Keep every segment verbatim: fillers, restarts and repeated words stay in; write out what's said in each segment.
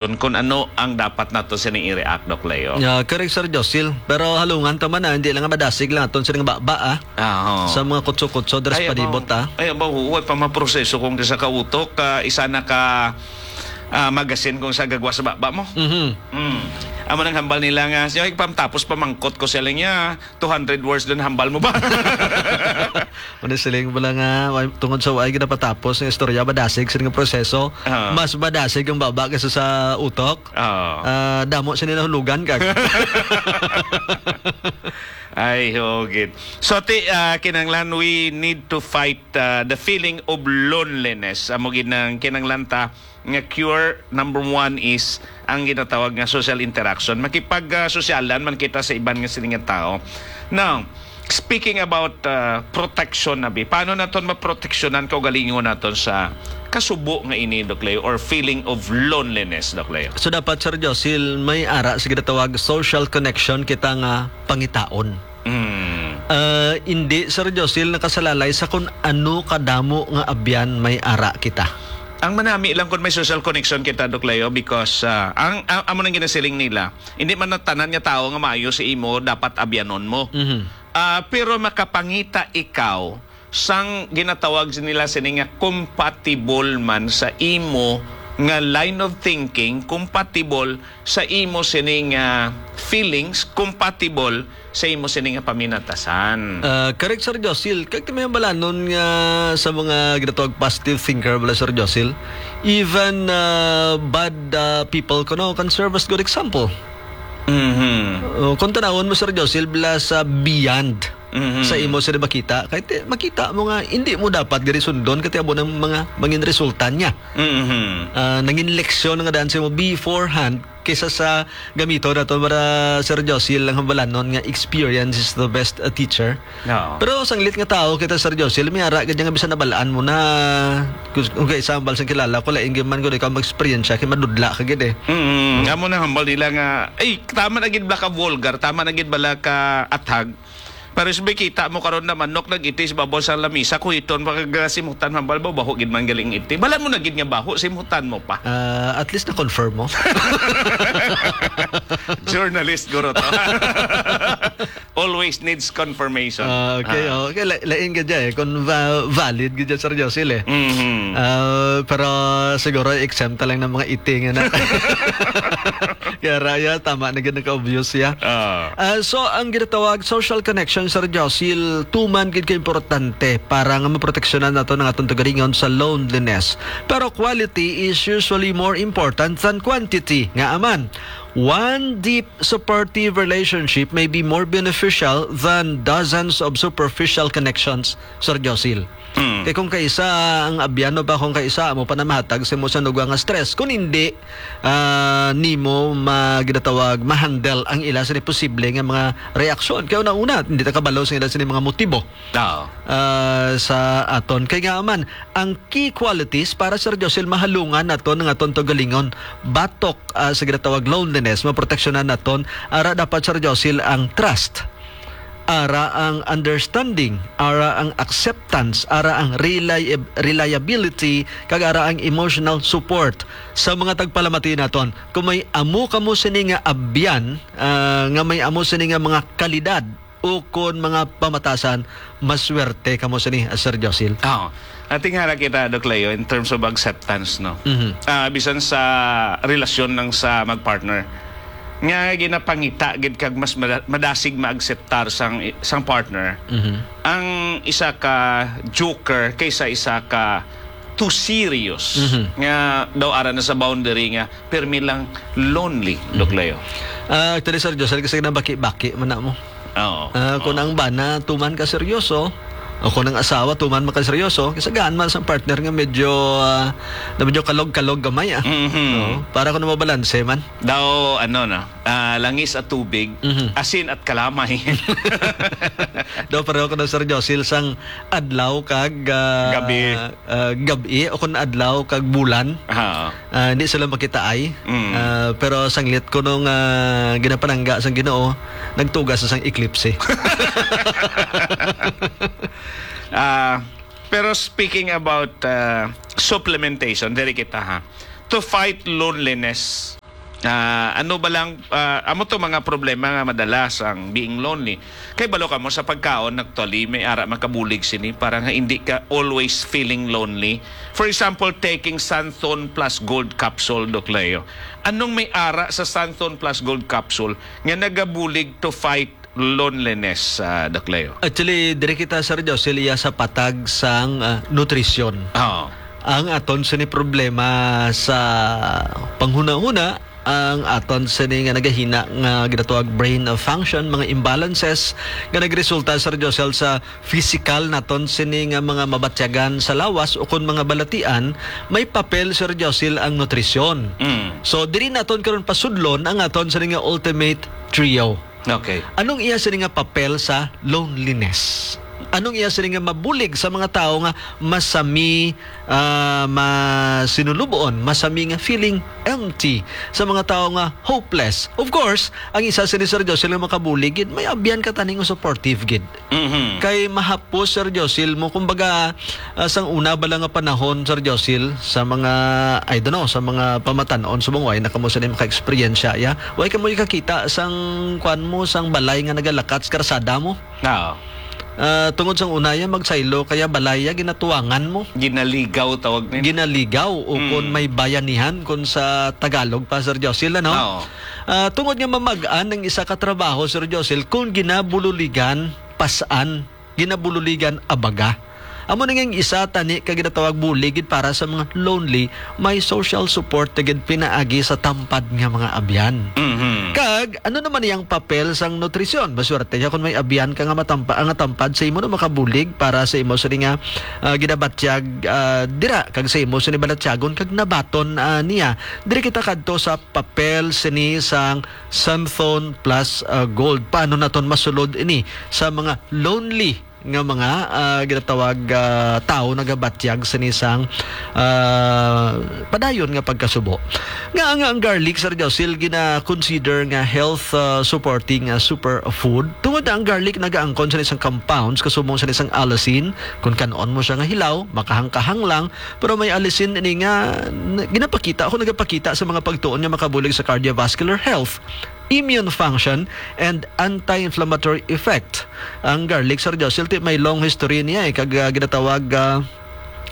kung ano ang dapat nato sining i-react, Doc Leo. Yeah, correct, Sir Josil. Pero halungan ta man, ah, hindi lang nga madasig lang aton sining baba, ah. Ah, oo. Sa mga kutso-kutso, dres Ay, palibot, abaw. ah. Ay, abaw, huwag pa maproseso kung sa kautok, ah, isa na ka, ah, magasin kung sa gagwa sa baba mo. Mhm. Mm. Amo nang hambal nila nga, siya, "Ay, pam-, tapos pamangkot ko sila niya, two hundred words dun, hambal mo ba?" Ano siling mo lang nga, way-, tungod sa way ginapatapos nga istorya, madasig sila nga proseso, Ah. mas madasig ang baba kaysa sa utok. Ah. Ah, damo sila nahulugan, kag. Ay, hugit. So, ti, ah, kinahanglan, we need to fight, ah, the feeling of loneliness. Amo gid nang kinahanglan ta nga cure. Number one is ang ginatawag nga social interaction. Makipag, ah, sosyalan man kita sa iban nga sining nga tao. Now, speaking about, ah, protection na bi, paano naton maproteksyonan kaugalingon naton sa kasubo nga ini, Doc Leo, or feeling of loneliness, Doc Leo? So, dapat, Sir Josil, may ara sa ginatawag social connection kita nga pangitaon. Mm. Ah, hindi, Sir Josil, nakasalalay sa kung ano kadamo nga abyan may ara kita. Ang manami lang kung may social connection kita, Doc Leo, because, ah, ang, ang, amo nang ginasiling nila, hindi man ang tanan nga tawo nga maayo sa imo dapat abyanon mo. Mhm. Ah, pero makapangita ikaw sang ginatawag nila sini nga compatible man sa imo nga line of thinking, compatible sa imo sini nga feelings, compatible sa imo sini nga paminatasan. Ah, correct, Sir Josil. Kag ti may balanon nga sa mga ginatawag positive thinker bala, Sir Josil, even, ah, bad, ah, people kuno can serve as good example. Mhm. Oh, kung tanawon mo, Sir Josil, bala sa beyond Mhm. sa imo sila makita, kay ti-, makita mo nga hindi mo dapat gani sundon, kay ti amo nang mga mangin resulta niya. Mhm. Ah, nangin leksyon nga daan sa imo beforehand kaysa sa gamito nato para, Sir Josil, lang hambalanon nga experience is the best, uh, teacher. Oo. Pero sanglit nga tao kita, Sir Josil, may ara gid nga bisan nabalaan mo na, kung, kung kay example, sang kilala ko, lain gyud man gud ikaw mag-experience siya, kay madudla ka gid eh. Mm, amo na hambal nila nga, ay, tama na gid bala ka vulgar, tama na gid bala ka athag. Pero sabi, kita mo karon na manok nag-iti sa babaw sa lamisa, kuhiton pa kag simutan, hambal ba, baho gid man galing iti. Bala mo na gid nga baho, simutan mo pa. Ah, at least na-confirm mo. Journalist, guro to. Always needs confirmation. Ah, okay, Ah. oh, okay. La-, lain ka dyan eh. Kung va-, valid ka dyan, Sir Josil eh. Mhm. Ah, pero siguro exempt lang ng mga iting na. Kaya raya, tama na gid nagka-obvious siya. Ah. Ah, so, ang ginatawag social connection, Sir Josil, tuman gid ka importante para nga maproteksyonan nato ng atong tugaringon sa loneliness. Pero quality is usually more important than quantity. Nga aman, one deep supportive relationship may be more beneficial than dozens of superficial connections, Sir Josil. Mm. Kay kung kaisa ang abyan, no, ba, kung kaisa mo pa na mahatag sa imo sa nugwa nga stress. Kung hindi, ah, nimo ma-, ginatawag, ma-handle ang ila sa posible nga mga reaksyon. Kaya una-una, hindi ta kabalo sa ila sa mga motibo. Oo. Ah, sa aton. Kay nga man, ang key qualities para, Sir Josil, mahalungan naton nga aton tugalingon, batok, ah, sa ginatawag loneliness, maproteksyonan naton, ara dapat, Sir Josil, ang trust, ara ang understanding, ara ang acceptance, ara ang reliab-, reliability, kag ara ang emotional support sa mga tagpalamati naton. Kung may amo kamo sini nga abyan, ah, nga may amo sini nga mga kalidad, ukon mga pamatasan, maswerte kamo sini, ah, Sir Josil. Oo. Ating hara kita, Doc Leo, in terms of acceptance, no? Mhm. Ah, bisan sa relasyon ng sa mag-partner, nga ginapangita gid kag mas mada-, madasig maakseptar sang, sang partner, Mhm. ang isa ka joker kaysa isa ka too serious. Mhm. Nga daw ara na sa boundary nga permi lang lonely, Doc Mhm. Leo. Ah, actually, Sir Josil, kasi nabaki-baki man na mo. Oo. Ah, kung Oo. ang bana, tuman ka seryoso, o kung ang asawa, tuman man ka seryoso, kasi gaan man sa partner nga medyo, ah, na medyo kalog-kalog gamay, ah. Mhm. Oo. Para kung mabalanse man. Daw, ano na, ah, langis at tubig, Mhm. asin at kalamay. Daw, pareho ko daw, Sir Josil, sang adlaw kag, ah, Gabi. ah, gab-i, o kung adlaw kag bulan. Ah. Ah, hindi sila makitaay. Mm. Ah, pero sanglit ko nung, ah, ginapanangga sang Ginoo, nagtugas sa sang eklipse. Ah, pero speaking about, ah, supplementation, diri kita, ha. to fight loneliness? Ah, ano ba lang, ah, amo to mga problema nga madalas ang being lonely. Kay balo kamo sa pagkaon, actually, may ara makabulig sini para nga hindi ka always feeling lonely. For example, taking Santhon Plus Gold Capsule, Doc Leo. Anong may ara sa Santhon Plus Gold Capsule nga nagabulig to fight loneliness, ah, Doc Leo? Actually, diri kita, Sir Josel, iya sa patag sang, ah, nutrisyon. Oo. Ang aton sini problema sa panghunahuna, ang aton sini nga nagahina nga ginatawag brain function, mga imbalances nga nagresulta, Sir Josel, sa physical naton sini nga mga mabatyagan sa lawas o kon mga balatian, may papel, Sir Josel, ang nutrisyon. Mm. So, diri naton karon pasudlon ang aton sini nga ultimate trio. Okay. Anong iya sini nga papel sa loneliness? Anong iya sini nga mabulig sa mga tawo nga masami, ah, masinulubon, masami nga feeling empty, sa mga tawo nga hopeless? Of course, ang isa sini, Sir Josel, nga makabulig gid, may abyan ka tani nga supportive gid. Mhm. Kay mahapos, Sir Josel, mo, kumbaga, ah, sang una bala nga panahon, Sir Josel, sa mga, I don't know, sa mga pamatan-on subong, way na kamo sini maka-eksperyensya, ya? Way kamo ikakita sang, kuan mo, sang balay nga nagalakat sa karsada mo? Oo. Ah, tungod sang una, ya, magsaylo, kaya balay, ya, ginatuwangan mo. Ginaligaw tawag nila. Ginaligaw, o kon Mm. may bayanihan, kon sa Tagalog pa, Sir Josel, ano? Oo. Ah, tungod nga mamag-an ang isa ka trabaho, Sir Josel, kung ginabululigan, pas-an, ginabululigan, abaga. Amo na nga ang isa tani ka ginatawag bulig gid para sa mga lonely, may social support na gid pinaagi sa tampad nga mga abyan. Mhm. Kag ano naman iyang papel sang nutrisyon? Maswerte ka kung may abyan ka nga matampa, nga tampad sa imo na makabulig para sa imo sini nga, ah, ginabatyag, ah, dira kag sa imo sini balatyagon kag nabaton, ah, niya. Diri kita kadto sa papel sini sang Santhon Plus, ah, Gold. Paano naton masulod ini sa mga lonely nga mga, ah, ginatawag, ah, tawo nagabatyag sini sang, ah, padayon nga pagkasubo? Nga, nga ang garlic, Sir Josil, gina-consider nga health, ah, supporting, ah, superfood. Tungod na ang garlic nagaangkon sa isang compounds kasubong sa isang allicin, kung kan-on mo siya nga hilaw, makahangkahang lang, pero may allicin ini nga n-, ginapakita, ako nagapakita sa mga pagtuon nga makabulig sa cardiovascular health, immune function, and anti-inflammatory effect. Ang garlic, Sir Josil, ti may long history niya, eh, kag, ah, ginatawag, ah,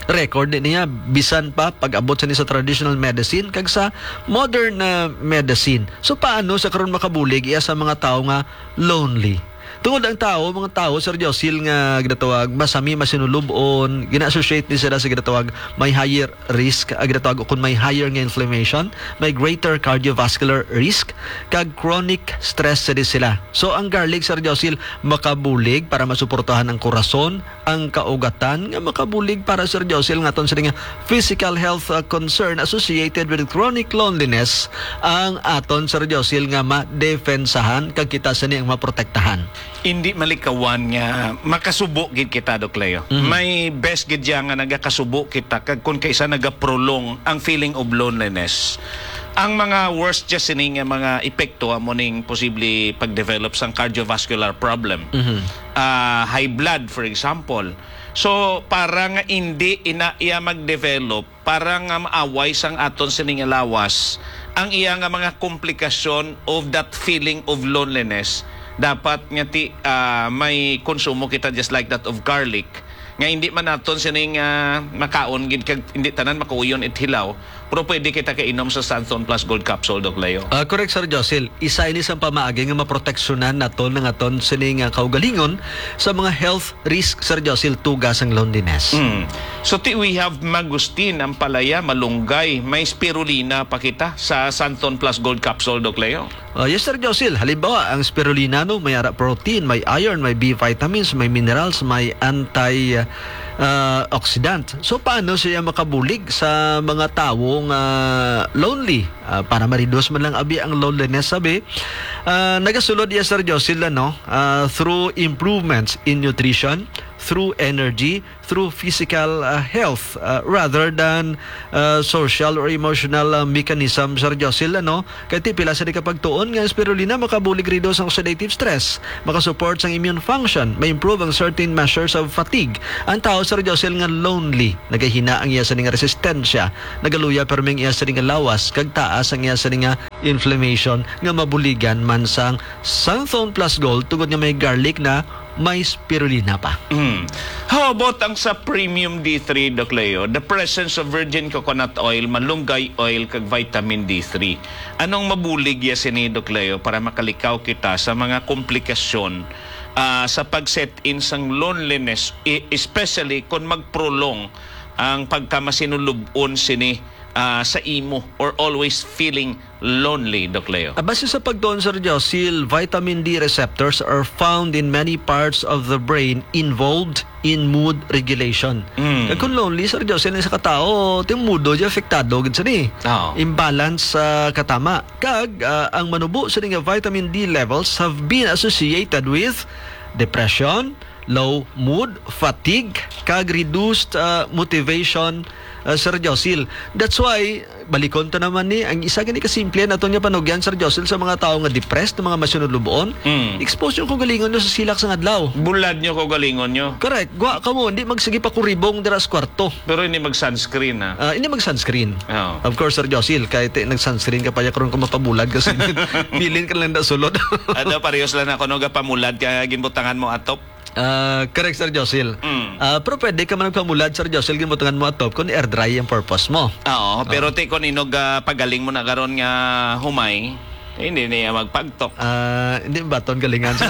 record ni niya, bisan pa pag-abot sa ni sa traditional medicine kag sa modern, ah, medicine. So, paano sa karon makabulig iya sa mga tawo nga lonely? Tungod ang tawo, mga tawo, Sir Josil, nga ginatawag masami, masinulub-on, gina-associate ni sila sa ginatawag may higher risk, ah, ginatawag kung may higher nga inflammation, may greater cardiovascular risk, kag chronic stress sa di sila. So, ang garlic, Sir Josil, makabulig para masuportahan ang korason, ang kaugatan, nga makabulig para, Sir Josil, nga aton sini nga physical health, uh, concern associated with chronic loneliness, ang aton, Sir Josil, nga madepensahan kag kita sini ang maprotektahan. Hindi malikawan nga makasubo gid kita, Doc Leo. Mhm. May best gid siya nga nagakasubo kita kag kung kaisa nagaprolong ang feeling of loneliness. Ang mga worst just sini nga mga epekto amo ning posible pag-develop sang cardiovascular problem. Mhm. Ah, high blood, for example. So, para nga hindi ina iya mag-develop, para nga maaway sang aton sini nga lawas ang iya nga mga komplikasyon of that feeling of loneliness, dapat nga ti, ah, may konsumo kita just like that of garlic, nga hindi man naton sini nga makaon gid kag hindi tanan makauyon it hilaw, pero pwede kita kainom sa Santhon Plus Gold Capsule, Doc Leo. Ah, correct, Sir Josil. Isa ini sa pamaagi nga maproteksyonan naton ang aton sini nga kaugalingon sa mga health risk, Sir Josil, tuga sang loneliness. Mm. So, ti, we have mangosteen, ampalaya, malunggay, may spirulina pa kita sa Santhon Plus Gold Capsule, Doc Leo. Ah, yes, Sir Josil. Halimbawa, ang spirulina, no, may ara protein, may iron, may B vitamins, may minerals, may anti, ah, oxidant. So, paano siya makabulig sa mga tawo nga lonely? Ah, para ma-reduce man lang abi ang loneliness, sabi, ah, nagasulod iya, Sir Josil, ano, ah, through improvements in nutrition, through energy, through physical, uh, health, uh, rather than, uh, social or emotional, uh, mechanism, Sir Josil, ano? Kay ti pila sa di kapagtuon nga ang spirulina makabulig reduce ang oxidative stress, makasupport sang immune function, ma-improve ang certain measures of fatigue. Ang tao, Sir Josil, nga lonely, nagahina ang iya sa nga resistensya, nagaluya pero may iya sa nga lawas, kag taas ang iya sa nga inflammation nga mabuligan man sang Santhone Plus Gold tungod nga may garlic na may spirulina pa. Mm. How about ang sa Premium D three, Doc Leo? The presence of virgin coconut oil, malunggay oil, kag vitamin D three. Anong mabulig ya sini, Doc Leo, para makalikaw kita sa mga komplikasyon, ah, sa pag-set in sang loneliness, e-, especially kung mag-prolong ang pagkamasinulubon sini, ah, sa imo or always feeling lonely, Doc Leo? Ah, base sa pagtuon, Sir Josil, vitamin D receptors are found in many parts of the brain involved in mood regulation. Mm. Kag kung lonely, Sir Josil, sa katao, ti mudo di apektado gid sini. Oo. Imbalance sa katama. Kag, ah, ang manubo sini nga vitamin D levels have been associated with depression, low mood, fatigue, kag reduced, ah, motivation, ah, Sir Josil. That's why, balikon ta naman ni, ang isa gani kasimple naton nga panugyan, Sir Josil, sa mga tawo nga depressed, mga masunod lubon, Mm. expose yung kaugalingon nyo sa silak sang adlaw. Bulad nyo kaugalingon nyo. Correct. Gwa ka mo, hindi magsige pa kuribong dira sa kwarto. Pero hindi mag-sunscreen, ha? Ah, hindi mag-sunscreen. Oo. Of course, Sir Josil, kahit eh, nag-sunscreen ka pa, ya karon ka mapabulad kasi bilin ka lang na sulod. Ano, parehas lang ako, no, gapamulad ka, ginbutangan mo atop. Ah, correct, Sir Josil. Mm. Ah, pero pwede ka man nagpamulad, Sir Josil, ginbutangan mo atop kung air dry ang purpose mo. Oo, pero ti kung inog, ah, pagaling mo na karon nga humay, eh, hindi niya magpagtok. Ah, hindi baton galingan sa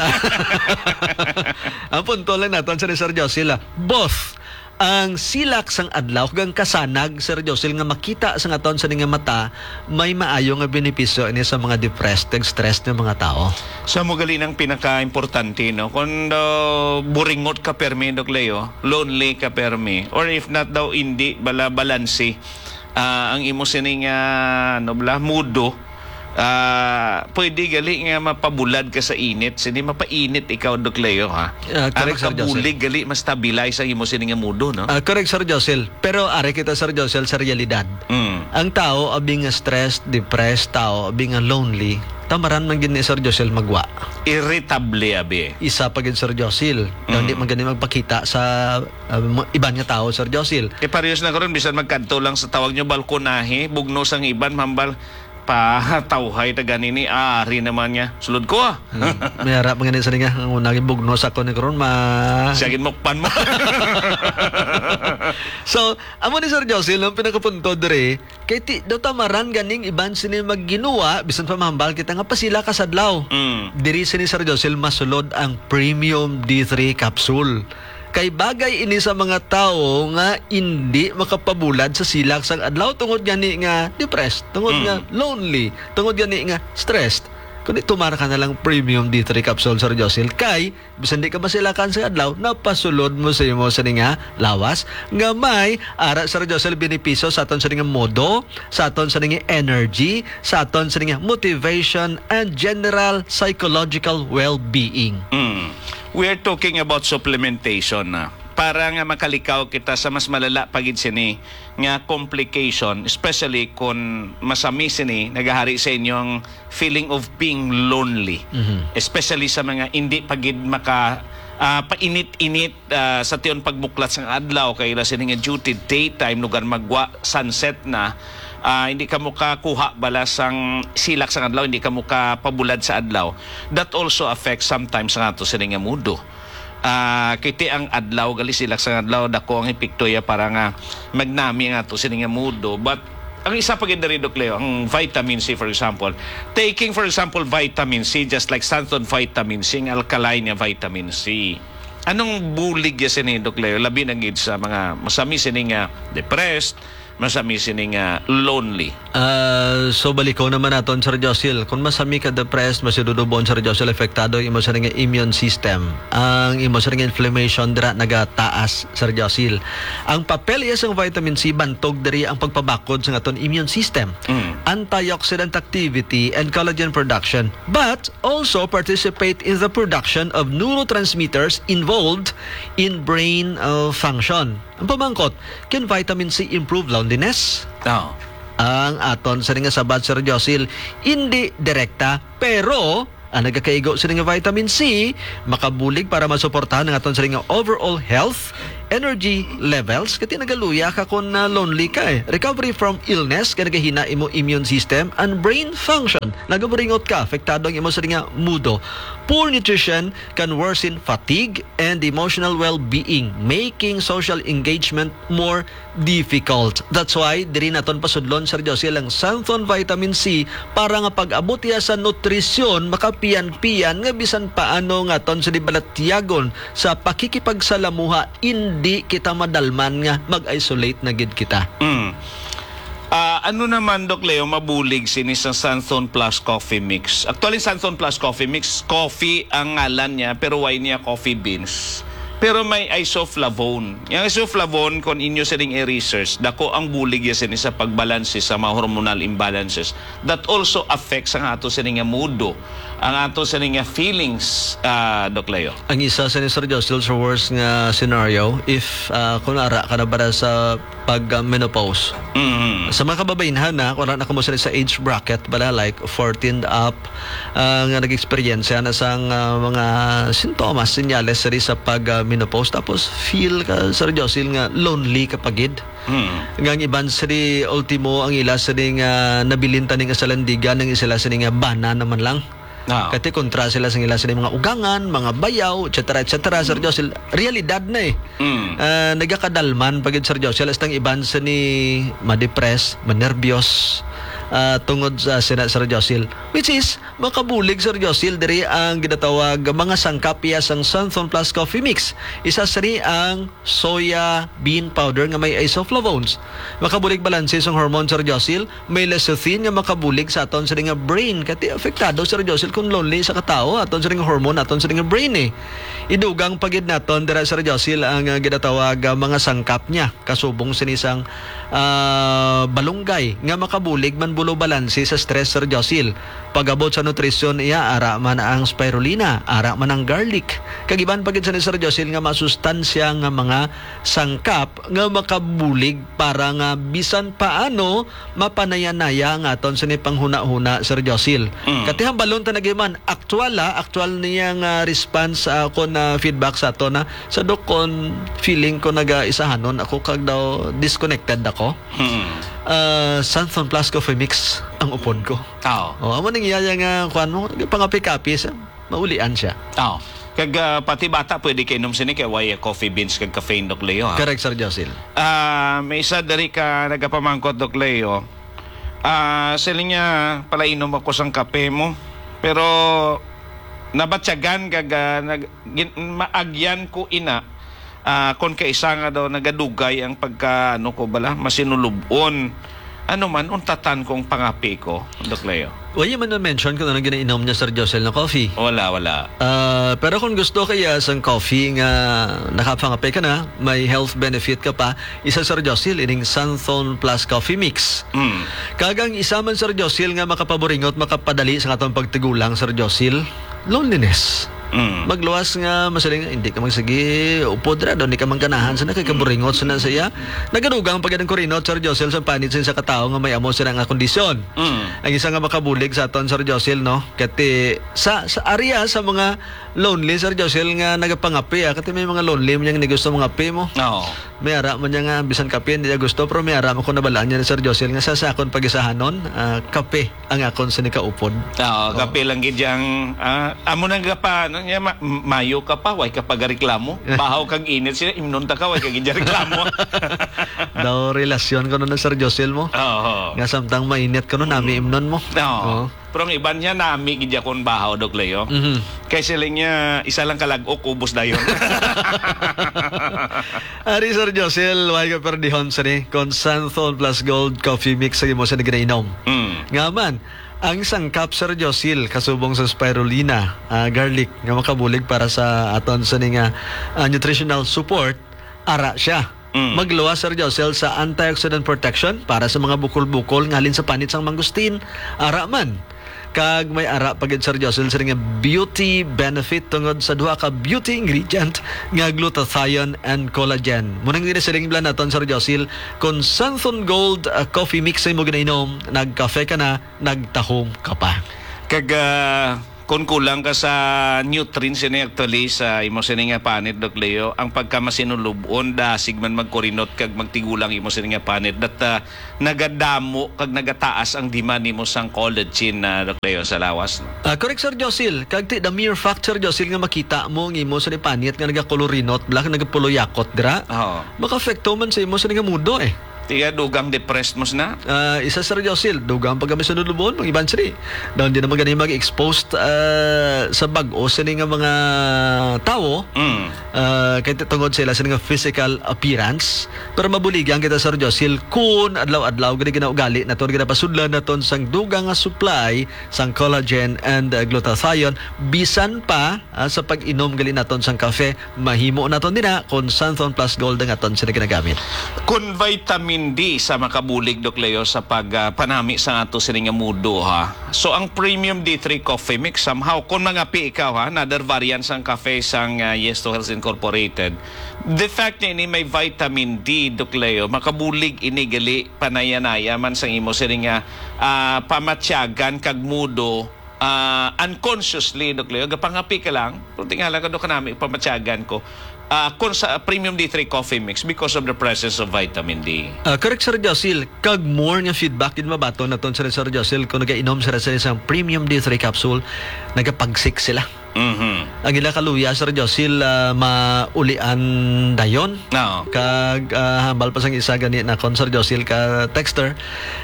ang punto lang naton, Sir, Sir Josil, ah. Both ang silak sang adlaw kag ang kasanag, Sir Josil, nga makita sa aton sa nga mata, may maayo nga benepisyo ini sa mga depressed kag stressed nga mga tao. Sa mo gali nang pinakaimportante, no? Kung daw buringot ka permi, Doc Leo, lonely ka permi, or if not daw, hindi bala balanse, ah, ang imo sining, ah, ano bala, mudo, ah, pwede gali nga mapabulad ka sa init. Sini mapainit ikaw, Doc Leo, ha? Ah, Ang correct, Sir Joseph. Makabulig gali, ma-stabilize ang imo sining mudo, no? Ah, correct, Sir Josel. Pero ari kita, Sir Josel, sa realidad. Mm. Ang tao abi nga stressed, depressed, tao abi nga lonely, tamaran man gid ni, Sir Josel, magwa. Irritable abi. Isa pa gid, Sir Josel, Mm. hindi man gani magpakita sa, ah, mga iban nga tao, Sir Josel. Eh, parehas na karon, bisan magkadto lang sa, tawag nyo, balkonahe, bugno sang iban, hambal, patawhay ta gani ni, ari naman niya. Sulod ko, ah. Hmm. May ara pa gani sa nga, ang una, gibugno sa ko ni karon, ma- Siya ginmukpan mo. So, amo ni, Sir Josel, ang pinakapunto diri, kay ti, daw tamaran ganing iban sini magginuwa, bisan pa mahambal kita nga pasila ka sa adlaw. Mm. Diri sini, Sir Josel, masulod ang Premium D three capsule. Kay bagay ini sa mga tawo nga indi makapabulad sa silak sang adlaw, tungod gani nga depressed, tungod Mm. nga lonely, tungod gani nga stressed. Kundi tumar ka na lang Premium D three capsule, Sir Josel, kay bisan di ka masilakan sa adlaw, napasulod mo sa imo sa nga lawas nga may ara, Sir Josel, benepisyo sa aton sa nga modo, sa aton sa nga energy, sa aton sa nga motivation and general psychological well-being. Mm. We're talking about supplementation na para nga makalikaw kita sa mas malala pa gid sini nga complication, especially kung masami sini nagahari sa inyong feeling of being lonely. Mhm. Especially sa mga hindi pa gid maka, ah, painit-init, ah, sa tion pagbuklat sang adlaw, kay ila sini nga duty daytime, lugar magwa, sunset na, ah, hindi ka mo kakuha bala sang silak sang adlaw, hindi ka mo kapabulad sa adlaw. That also affects sometimes nga ato sini nga mudo. Ah, kiti ang adlaw, gali silak sang adlaw, dako ang epekto ya para nga magnami ang ato sini nga mudo. But ang isa pa gid diri, Doc Leo, ang vitamin C, for example. Taking, for example, vitamin C, just like Santon vitamin C, ang alkaline nga vitamin C. Anong bulig ya sini, Doc Leo? Labi na gid sa mga masami sini nga depressed, masami sini nga lonely? Ah, so balikon naman naton, Sir Josil. Kung masami ka depressed, masidudubon, Sir Josil, apektado ang imo sa nga immune system. Ang imo sa nga inflammation dira nagataas, Sir Josil. Ang papel iya sang vitamin C bantog diri ang pagpabakod sa aton immune system. Mm. Antioxidant activity and collagen production, but also participate in the production of neurotransmitters involved in brain, uh, function. Ang pamangkot, can vitamin C improve loneliness? Oh. Ang aton sini nga sabat, Sir Josil, hindi direkta, pero ang nagakaigo sini nga vitamin C makabulig para masuportahan ang aton sini nga overall health, energy levels, kati nagaluya ka kung, ah, lonely ka, eh. Recovery from illness, kay nagahina imo immune system and brain function. Nagaburingot ka, apektado ang imo sini nga mudo. Poor nutrition can worsen fatigue and emotional well-being, making social engagement more difficult. That's why diri naton pasudlon, Sir Josil, ang Santhon Vitamin C para nga pag-abot iya sa nutrisyon, makapian-pian nga bisan paano nga aton sa dibalatyagon sa pakikipagsalamuha, indi kita madalman nga mag-isolate na gid kita. Mm. Ah, ano naman, Doc Leo, mabulig sini sa Santhon Plus Coffee Mix? Actually, Santhon Plus Coffee Mix, coffee ang ngalan niya, pero why niya coffee beans? Pero may isoflavone. Yang isoflavone, kung inyo sining i-research, dako ang bulig ya sini sa pagbalanse sa mga hormonal imbalances that also affects ang ato sini nga mudo, ang ato sini nga feelings, ah, Doc Leo. Ang isa sa ni Sir Josil sa worst nga scenario, if, ah, kung ara ka na ba sa pag, ah, menopause. Mhm. Sa mga kababainhan na, kung ara na kamo sila sa age bracket, bala, like, fourteen up, ah, nga nag-eksperyensya na sang, ah, mga sintomas, senyales diri sa pag, ah, menopause. Tapos feel ka, Sir Josil, nga lonely ka pa gid. Mm. Nga ang iban sini, ultimo, ang ila sini nga nabilin tani nga sa landigan, ang sila sini nga bana naman lang. Ah. Kati kontra sila sa ila sini mga ugangan, mga bayaw, et cetera, et cetera, Sir Josil. Realidad na eh. Mm. Ah, nagakadalman pa gid, Sir Josil, hasta ang iban sini ma-depress, manerbyos, ah, tungod sa sina, Sir Josil. Which is, makabulig, Sir Josil, diri ang ginatawag mga sangkap iya sang Santhon Plus Coffee Mix. Isa sini ang soya bean powder nga may isoflavones. Makabulig balanse sang hormone, Sir Josil, may lecithin nga makabulig sa aton sini nga brain. Kati apektado, Sir Josil, kung lonely sa katawo, aton sini nga hormone, aton sini nga brain eh. Idugang pa gid naton dira, Sir Josil, ang, ah, ginatawag, ah, mga sangkap niya. Kasubong sini sang, ah, balunggay nga makabulig man bulo balanse sa stress, Sir Josil. Pag-abot sa nutrisyon iya, ara man ang spirulina, ara man ang garlic. Kag iban pa gid sini, Sir Josil, nga masustansya nga mga sangkap nga makabulig para nga bisan paano mapanayanaya ang aton sini panghunahuna, Sir Josil. Mm. Katihambalon ta nagiman, aktual, ah, aktual niya nga response, ah, kon, ah, feedback sa aton, ah. Sa dok, kon feeling ko nagaisahanon ako kag daw disconnected ako. Mm. Ah, Santhon Plus Coffee Mix ang upod ko. Oo. Oh, amo ning iyaya nga kuan mo, pangapi-kapi sa maulian siya. Oo. Kag, ah, pati bata pwede kainom sini kay way coffee beans kag caffeine, Doc Leo, ha? Correct, Sir Josil. Ah, may isa diri ka nagapamangkot, Doc Leo. Ah, siling niya, "Palainom ako sang kape mo." Pero nabatyagan kag, ah, nag-, gin-, maagyan ko ina, ah, kon kaisa nga daw nagadugay ang pagka, ano ko bala, masinulub-on. Ano man, untatan kong pangapi ko, Doc Leo. Wala man na-mention kung ano ginainom niya, Sir Josel, na coffee. Wala, wala. Ah, pero kung gusto kaya sang coffee nga nakapangape ka na, may health benefit ka pa, isa, Sir Josel, ining Santhon Plus Coffee Mix. Mm. Kag ang isa man, Sir Josel, nga makapaburingot, makapadali sa atong pagtigulang, Sir Josel, loneliness. Mm. Magluwas nga masiling, hindi ka magsigi, upod ra, daw, hindi ka mangganahan, sana kay kaburingot, sana siya. Nagadugang pa gid ang kurinot, Sir Josel, sa panit sa isa ka tawo nga may amo sila nga kondisyon. Mm. Ang isa nga makabulig sa aton, Sir Josel, no? Kati sa, sa area sa mga lonely, Sir Josel, nga nagapangapi, ah. Kati may mga lonely man yang hindi gusto mangapi mo. Oo. May ara man niya nga, bisan kape, hindi niya gusto, pero may ara man ko nabalaan niya ni Sir Josel nga sa, sa akon pagisahanon, ah, kape ang akon sa nikaupod. Oo, oh. Kape lang gid yang, ah, amo nang gapa, ano niya, ma-, mayo ka pa, way ka pagareklamo. Bahaw kag init siya, imnon ta ka, way ka gid reklamo. Daw relasyon ko na, Sir Josel mo. Oo. Nga samtang mainit ko no, nami imnon mo. Oo. Oo. Pero ang iban niya, nami gid akong bahaw, Doc Leo. Mhm. Kay siling niya, isa lang kalag-ok, ubos dayon. Ari, Sir Josel, way ka perdihon sini kon Santhon Plus Gold Coffee Mix sa imo sa ginainom. Mm. Nga man, ang sangkap, Sir Josel, kasubong sa spirulina, ah, garlic, nga makabulig para sa aton sa ni nga, ah, nutritional support, ara siya. Mm. Magluwas, Sir Josel, sa antioxidant protection para sa mga bukol-bukol nga halin sa panit sang mangustin. Ara man. Kag may ara pa gid, Sir Josel, sa nga beauty benefit tungod sa duha ka beauty ingredient nga glutathione and collagen. Muna nga siling bala naton, Sir Josel, kung Santhon Gold, ah, coffee mix sa imo ginainom, nagkafe ka na, nagtahom ka pa. Kag, ah, kung kulang ka sa nutrients ini actually sa imo sini nga panit, Doc Leo, ang pagkamasinulub-on, dasig man magkurinot kag magtigulang imo sini nga panit, that, ah, nagadamo kag nagataas ang demand nimo sang collagen na, Doc Leo, sa lawas, no? Ah, correct, Sir Josil. Kag ti, the mere fact, Sir Josil, nga makita mo ang imo sini panit nga nagakolorinot, bala, nagapuluyakot dira, Oo. makaapekto man sa imo sini nga mudo, eh. Tiga dugang depressed mo sina? Ah, isa, Sir Josil, dugang pagkamasinulub-on, mga iban sini. Daw hindi naman gani mag-exposed, ah, sa bag-o sini nga mga tawo. Mm. Ah, kay tungod sila sini nga physical appearance. Pero mabuligan kita, Sir Josil, kun adlaw-adlaw gani ginaugali naton, ginapasudlan naton sang dugang nga supply sang collagen and, ah, glutathione, bisan pa, ah, sa pag-inom gali naton sang kafe, mahimo naton dina kon Santhon Plus Gold ang aton sila ginagamit. Kon vitamin D sa makabulig, Doc Leo, sa pag, ah, panami sa ato sini nga mudo, ha. So, ang Premium D three Coffee Mix, somehow, kung mangapi ikaw, ha, another variant sang kafe sang, ah, Yes to Health Incorporated, the fact na ini may vitamin D, Doc Leo, makabulig ini gali panayanaya man sang imo sini nga, ah, pamatyagan kag mudo, ah, unconsciously, Doc Leo, gapangapi ka lang, kung tingala ka, Doc, kanami, pamatyagan ko, ah, kung sa Premium D three Coffee Mix because of the presence of vitamin D. Ah, correct, Sir Josil. Kag more nga feedback din mabaton naton, Sir, Sir Josil, kung nagainom sila sa isang Premium D three capsule, nagapagsik sila. Mhm. Ang ila kaluya, Sir Josil, ah, maulian dayon. Oo. Kag, ah, hambal pa sang isa gani nakon, Sir Josil, ka texter,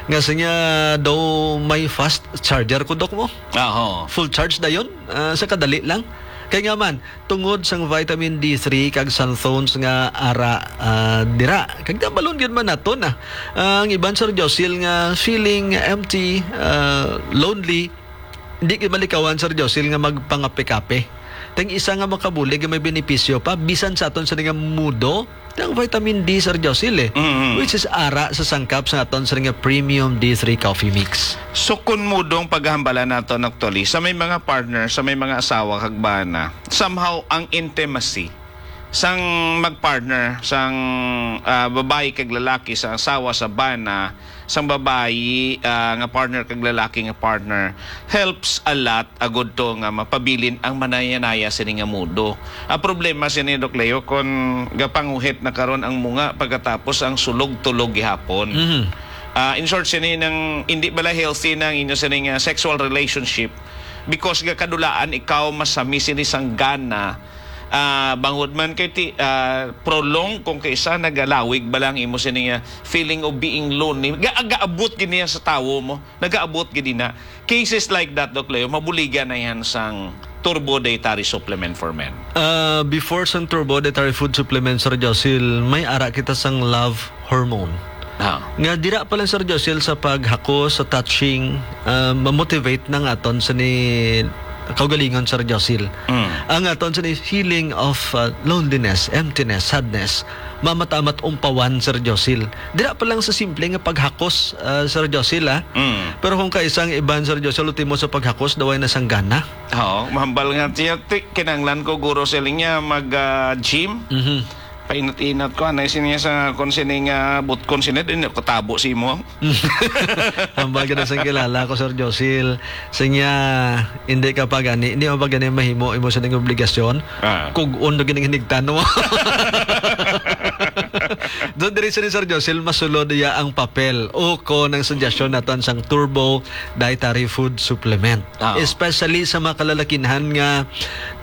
nga siya daw may fast charger ko, Doc, mo. Aho. Full charge dayon, ah, sa kadali lang. Kay nga man, tungod sang vitamin D three kag Santhones nga ara, ah, dira. Kag nabalon gyud man naton, ah. Ang iban, Sir Josil, nga feeling empty, ah, lonely, di gyud malikawan, Sir Josil, nga magpangape-kape. Tang isa nga makabulig nga may benepisyo pa, bisan sa aton sa nga mudo, ang vitamin D, Sir Josil, eh, Mm-hmm. which is ara sa sangkap sa aton sa nga premium D three coffee mix. So, kun mudo ang paghambalan naton actually, sa may mga partner, sa may mga asawa kag bana, somehow ang intimacy sang magpartner, sang, ah, babayi kag lalaki, sa asawa, sa bana, sang babayi, ah, nga partner kag lalaki nga partner, helps a lot agud to nga mapabilin ang manayanaya sini nga mudo. Ang problema sini, Doc Leo, kon gapanguhit na karon ang munga pagkatapos ang sulog-tulog gihapon. Mhm. Ah, in short, sini nang hindi bala healthy na ang inyo sini nga sexual relationship because gakadulaan ikaw masami sini sang gana, ah, bangod man kay ti, ah, prolong kung kaisa nagalawig bala ang imo sini nga feeling of being lonely. Ga-, gaabot gid niya sa tawo mo. Nagaabot gid na. Cases like that, Doc Leo, mabuligan na yan sang Turbo Dietary Supplement for Men. Ah, before sang Turbo Dietary Food Supplement, Sir Josil, may ara kita sang love hormone. Ah. Nga dira pa lang, Sir Josil, sa paghakos, sa touching, ah, mamotivate ng aton sa ni kaugalingon, Sir Josil. Mm. Ang aton sa ni feeling of, ah, loneliness, emptiness, sadness, mamatamat umpawan, Sir Josil. Dira pa lang sa simple nga paghakos, ah, Sir Josil, ah. Mm. Pero kung kaisang iban, Sir Josil, ultimo sa paghakos, daway na sang gana. Oo, mahambal nga siya, ti-, kinanglan ko, guro, siling niya, mag, ah, gym. Mhm. Painat-inat ko, anay siya sa kung sini nga butkon sini, din ko tabo si mo. Hambal ka na sang kilala ko, Sir Josil. Sinya, hindi ka pa gani, hindi mo pa gani mahimo, imo sa ning obligasyon. Ah. Kug-on na gining hinigtan mo. Doon diri sa ni Sir Josil, masulod iya ang papel o ko ng suggestyon naton sang Turbo Dietary Food Supplement. Ah. Especially sa mga kalalakinhan nga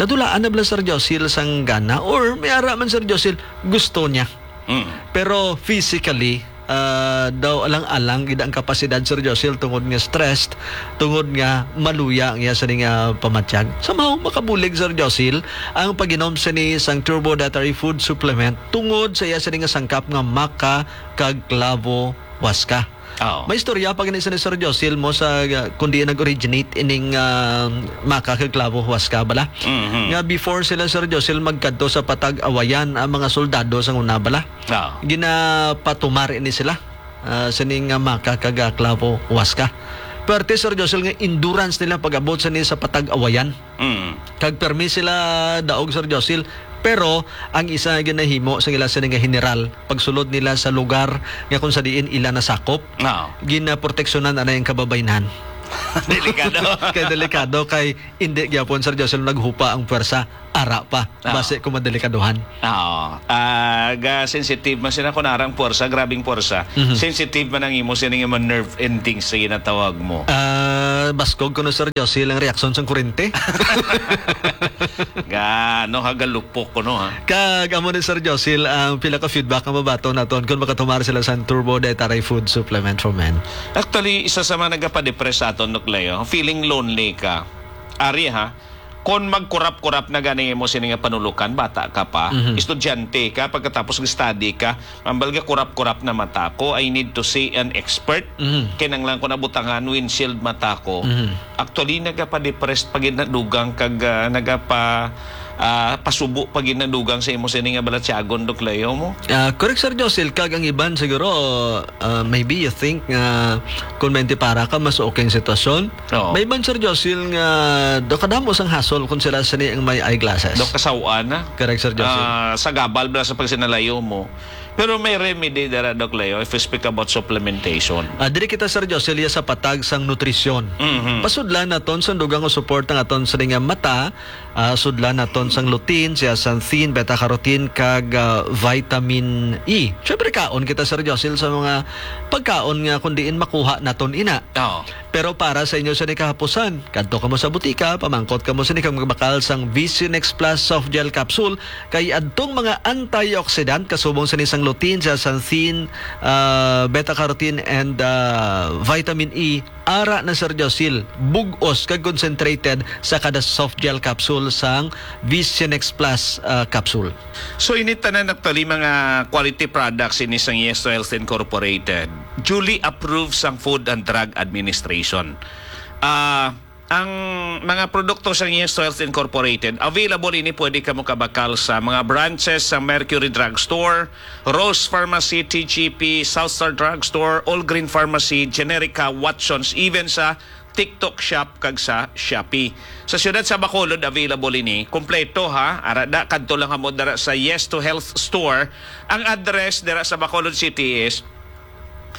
nadulaan na bala, Sir Josil, sang gana or may ara man, Sir Josil, gusto niya. Mm. Pero physically, ah, daw alang-alang gid ang kapasidad, Sir Josil, tungod nga stressed, tungod nga maluya ang iya sini nga pamatyag. Somehow, makabulig, Sir Josil, ang pag-inom sini sang Turbo Dietary Food Supplement tungod sa iya sini nga sangkap nga maca kag clavo huasca. Oo. May istorya pa gani sini, Sir Josil, mo sa, ah, kung diin nag-originate ining, ah, maca kag clavo huasca bala. Mhm. Nga before sila, Sir Josil, magkadto sa Patag Awayan ang mga soldado sa una bala. Oo. Ginapatumar ini sila, ah, sini nga maca kag, ah, clavo huasca. Perte, Sir Josil, nga endurance nila pag-abot sini sa Patag Awayan. Mm. Kag permi sila daog, Sir Josil, pero ang isa nga ginahimo sa ila sini nga general, pagsulod nila sa lugar nga kung sa diin ila nasakop, Oo. ginaproteksyonan anay ang kababaynhan. Delikado. Kay delikado, kay indi gyapon, Sir Josil, naghupa ang pwersa. Ara pa, Oo. basi kung madelikaduhan. Oo. Ah, ga sensitive man sila kun arang pwersa, grabing pwersa. Mhm. Sensitive man ang imo sini nga mga nerve endings sa ginatawag mo. Ah, baskog kuno, Sir Josil, ang reaksyon sang kurente. Ga, ano, hagalupok kuno, ha? Kag amo ni, Sir Josil, ang pila ka feedback nga mabaton naton kung makatumar sila sa Turbo Dietary Food Supplement for Men. Actually, isa sa mga nagapadepress sa aton, Doc Leo, feeling lonely ka. Ari, ha? Kon magkurap-kurap na gani mo sini nga panulukan, bata ka pa, Mhm. estudyante ka, pagkatapos ng study ka, ambal nga kurap-kurap na mata ko, I need to see an expert. Mhm. Kinanglan ko na butangan windshield mata ko. Mhm. Actually, nagapadepressed pa gid na dugang kag, ah, nagapa, ah, pasubo pa gid na dugang sa imo sini nga balatyagon, Doc Leo mo. Ah, correct, Sir Josil, kag ang iban siguro, ah, maybe you think nga kung mayinti para ka, mas okay ang sitwasyon. Oo. May iban, Sir Josil, nga daw kadamo sang hassle kung sila sini ang may eyeglasses. Daw kasaw-an na. Correct, Sir Josil. Ah, sa gabal bala sa pagsinalayo mo. Pero may remedy dara, Doc Leo, if we speak about supplementation. Ah, diri kita, Sir Josil, iya sa patag sang nutrisyon. Mhm. Pasudlan naton sang dugang nga support ang aton sini nga mata, ah, sudlan naton sang lutein, zeaxanthin, beta-carotene, kag, ah, vitamin E. Siyempre, kaon kita, Sir Josil, sa mga pagkaon nga kung diin makuha naton ina. Oo. Pero para sa inyo sa nikahapusan, kadto kamo sa butika, pamangkot kamo sini kag magbakal sang Visionex Plus Soft Gel Capsule, kay adtong mga antioxidant kasubong sini sang lutein, zeaxanthin, ah, beta-carotene, and, ah, vitamin E, ara na, Sir Josil, bug-os kag concentrated sa kada soft gel capsule sang Visionex Plus, ah, capsule. So, ini tanan actually mga quality products ini sang Yes to Health Incorporated, duly approved sang Food and Drug Administration. Ah, ang mga produkto sang Yes to Health Incorporated, available ini, pwede kamo kabakal sa mga branches sa Mercury Drugstore, Rose Pharmacy, T G P, South Star Drugstore, All Green Pharmacy, Generica, Watsons, even sa TikTok Shop kag sa Shopee. Sa siyudad sa Bacolod, available ini. Kompleto, ha. Ara da, kadto lang kamo dira sa Yes to Health Store. Ang address dira sa Bacolod City is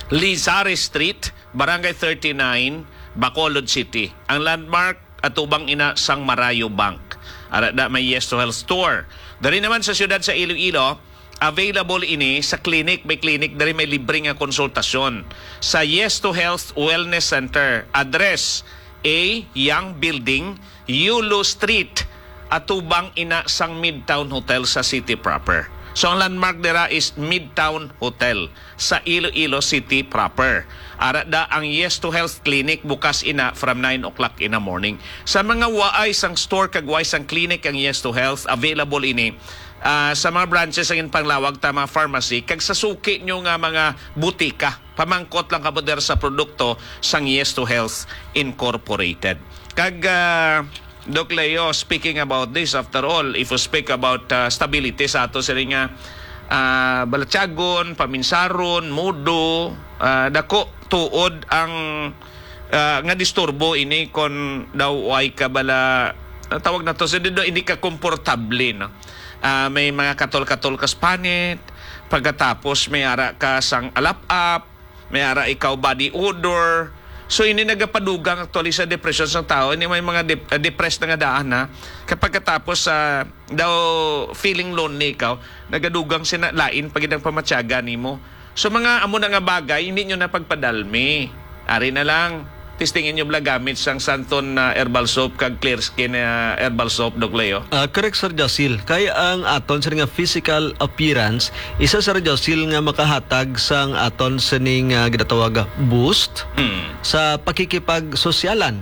Lizares Street, Barangay thirty-nine, Bacolod City. Ang landmark, atubang ina sang Marayo Bank. Ara da may Yes to Health Store. Diri naman sa siyudad sa Iloilo, available ini sa clinic. May clinic diri, may libre nga konsultasyon. Sa Yes to Health Wellness Center, address A Young Building, Yulo Street, atubang ina sang Midtown Hotel sa city proper. So, ang landmark dira is Midtown Hotel sa Iloilo City proper. Ara da ang Yes to Health Clinic, bukas ina from nine o'clock in the morning. Sa mga waay sang store kag waay sang clinic ang Yes to Health, available ini, ah, sa mga branches ang Panglawag ta mga pharmacy kag sa suki nyo nga mga butika. Pamangkot lang kamo dira sa produkto sang Yes to Health Incorporated. Kag, ah, Doc Leo, speaking about this, after all, if we speak about, ah, stability sa ato sini nga, ah, balatyagon, paminsaron, mudo, ah, dako tuod ang, ah, nga disturbo ini kon daw way ka bala, ah, tawag na to, sa di daw hindi ka komportable, no? Ah, may mga katol-katol ka sa panit, pagkatapos may ara ka sang alap-ap, may ara ikaw body odor. So, ini nagapadugang actually sa depression sang tao. Ini may mga dep-, ah, depressed na nga daan, ha. Kapag katapos sa daw feeling lonely ikaw, nagadugang sina lain pa gid ang pamatyagan nimo. So, mga amo na nga bagay, hindi nyo na pagpadalmi. Ari na lang. Testingan nyo bala gamit sang Santon, ah, herbal soap kag Clear Skin, ah, herbal soap, Doc Leo? Ah, correct, Sir Josil. Kay ang aton sini nga physical appearance, isa, Sir Josil, nga makahatag sang aton sining, ah, ginatawag nga boost Hmm. sa pakikipagsosyalan.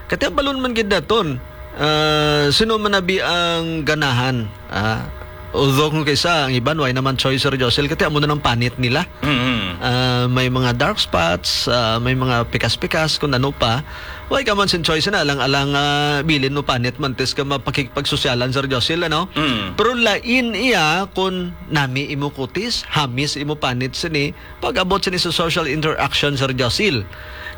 Katibalon man gid naton, ah, sino man abi ang ganahan, ah, although kung kaysa ang iban, way naman choice, Sir Josil, kati amo na nang panit nila. Mhm. Ah, may mga dark spots, ah, may mga pikas-pikas, kung ano pa. Way ka man sin choice na, alang-alang, ah, bilin mo panit man, tis ka mapakikipagsosyalan, Sir Josil, ano? Mm. Pero lain iya kung nami imo kutis, hamis imo panit sini, pag-abot sini sa social interaction, Sir Josil.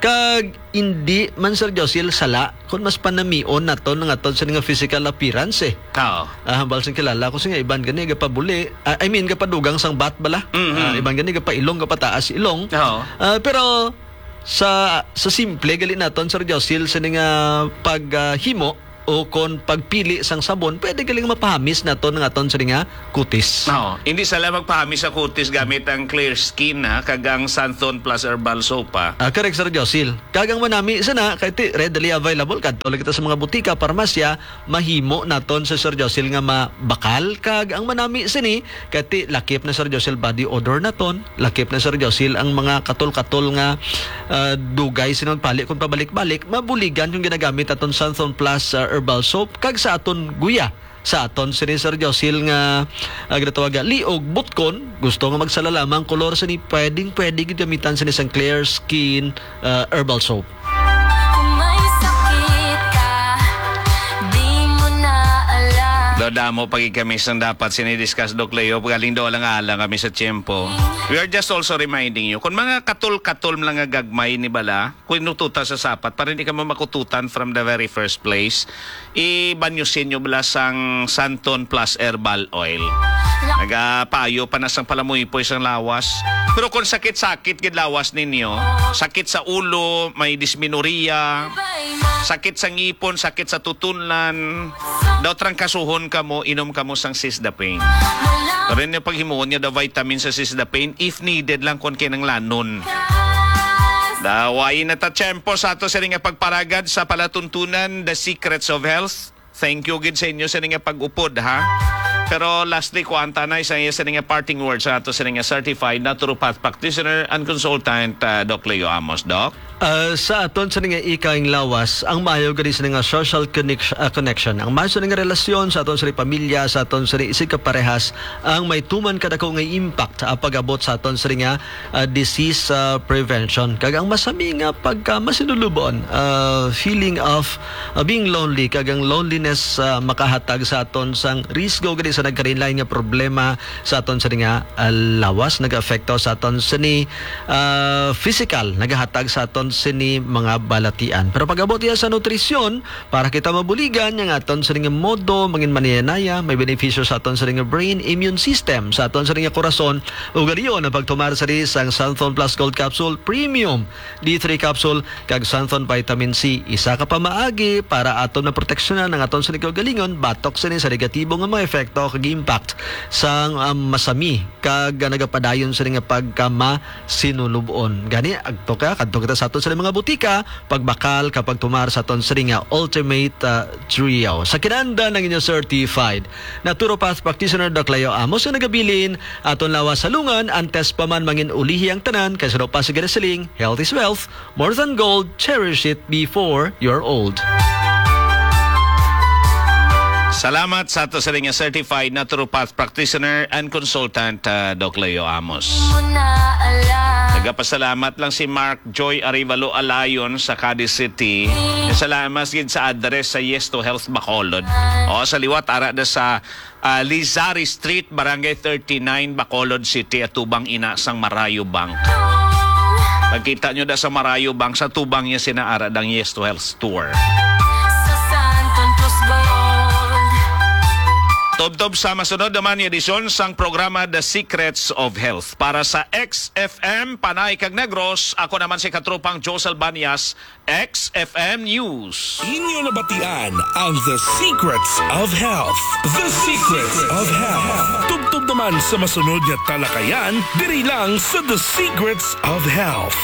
Kag indi man, Sir Josil, sala kung mas panamion naton ang aton sini nga physical appearance, eh. Oo. Ah, hambal sing kilala ko, sing iban gani gapabuli, ah, I mean, gapadugang sang bat bala. Mhm. Ah, iban gani gapailong, gapataas ilong. Oo. Ah, pero sa, sa simple gali naton, Sir Josil, sini nga pag, ah, himo o kon pagpili sang sabon, pwede galing mapahamis naton ang aton sini nga kutis. Oo. Hindi sala magpahamis sa kutis gamit ang Clear Skin, ha, kag ang Santon Plus Herbal Soap, ha. Ah, correct, Sir Josil. Kag ang manami sana, kay ti readily available, kadto lang kita sa mga butika, parmasya, mahimo naton sa Sir Josil nga mabakal. Kag ang manami sini, kay ti lakip na, Sir Josil, body odor naton, lakip na, Sir Josil, ang mga katol-katol nga, ah, dugay sini magpali kung pabalik-balik, mabuligan yung ginagamit naton Santon Plus, ah, Herbal Soap, kag sa aton guya. Sa aton sini, Sir Josil, nga, ah, ginatawag nga liog, butkon, gusto nga magsala lamang kolor sini, pwedeng-pwede gid gamitan sini sang Clear Skin, ah, Herbal Soap. Kung may sakit ka, di mo na alam. Daw damo pa gid kami sang dapat sini discuss, Doc Leo, galing daw lang alang kami sa tiyempo. We are just also reminding you, kung mga katol-katol lang nga gagmay ni bala, kung inututan sa sapat, para hindi ka mo makututan from the very first place, ibanyo sinyo bala sang Santon Plus Herbal Oil. Nagapayo pa na sang palamuypoy sang lawas. Pero kung sakit-sakit gid lawas ninyo, sakit sa ulo, may dysmenorrhea, sakit sa ngipon, sakit sa tutunlan, daw trangkasuhon kamo, inom kamo sang Sisda Pain. Pero ninyo paghimuon nga daw vitamin sa Sisda Pain, if needed lang, kung kinanglanon. Daway na ta tiyempo sa ato sini nga pagparagad sa palatuntunan, The Secrets of Health. Thank you gid sa inyo sini nga pag-upod, ha. Pero lastly, kuan ta na sa iya sini nga parting words sa ato sini nga certified naturopath practitioner and consultant, ah, Doc Leo Amos, Doc. Ah, sa aton sini nga ikaing lawas, ang maayo gani sini nga social connection, ah, connection. Ang maayo sini nga relasyon sa aton sini pamilya, sa aton sini isig kaparehas, ang may tuman kadako nga impact, ah, pag-abot sa aton sini nga ah, disease, ah, prevention. Kag ang masami nga pagka masinulubon, ah, feeling of, ah, being lonely, kag ang loneliness, ah, makahatag sa aton sang risgo gani sa nagkalain-lain nga problema sa aton sa nga, ah, lawas, nag-aapekto sa aton sini, ah, physical, nagahatag sa aton sini mga balatian. Pero pag-abot iya sa nutrisyon, para kita mabuligan, ang aton sini nga modo, mangin manaya-naya, may benepisyo sa aton sini nga brain, immune system, sa aton sini nga korason, ug galiyon ang pagtumar sini sang Santhon Plus Gold Capsule Premium, D three capsule, kag Santhon Vitamin C. Isa ka pamaagi para aton maproteksyonan ang aton sini kaugalingon batok sini sa negatibo nga mga epekto kag impact sang, um, masami kag nagapadayon sini nga pagkama sinulub-on. Gani, agto ka, kadto kita sa aton sa mga butika, pagbakal ka pagtumar sa aton sini nga Ultimate, ah, Trio. Sa kinanda ng inyo certified naturopath practitioner, Doc Leo Amos, nga nagabilin, aton lawas sa lungan, antes pa man mangin ulihi ang tanan, kay sa pa sa ginasiling, health is wealth, more than gold, cherish it before you're old. Salamat sa ato sa nga certified naturopath practitioner and consultant, ah, Doc Leo Amos. Nagapasalamat lang si Mark Joy Arevalo Alayon sa Cadiz City. Salamat gid sa address sa Yes to Health Bacolod. O, sa liwat, ara da sa, ah, Lizari Street, Barangay thirty-nine, Bacolod City, atubang ina sang Marayo Bank. Magkita nyo da sa Marayo Bank, sa tubang niya sina ara dang Yes to Health Store. Sa Santon Plus Gold. Tubtob sa masunod naman nga edisyon sang programa The Secrets of Health. Para sa X F M, Panay kag Negros, ako naman si katropang Josel Banyas, X F M News. Inyo nabatian ang The Secrets of Health. The Secrets of Health. Tubtob naman sa masunod nga talakayan, diri lang sa The Secrets of Health.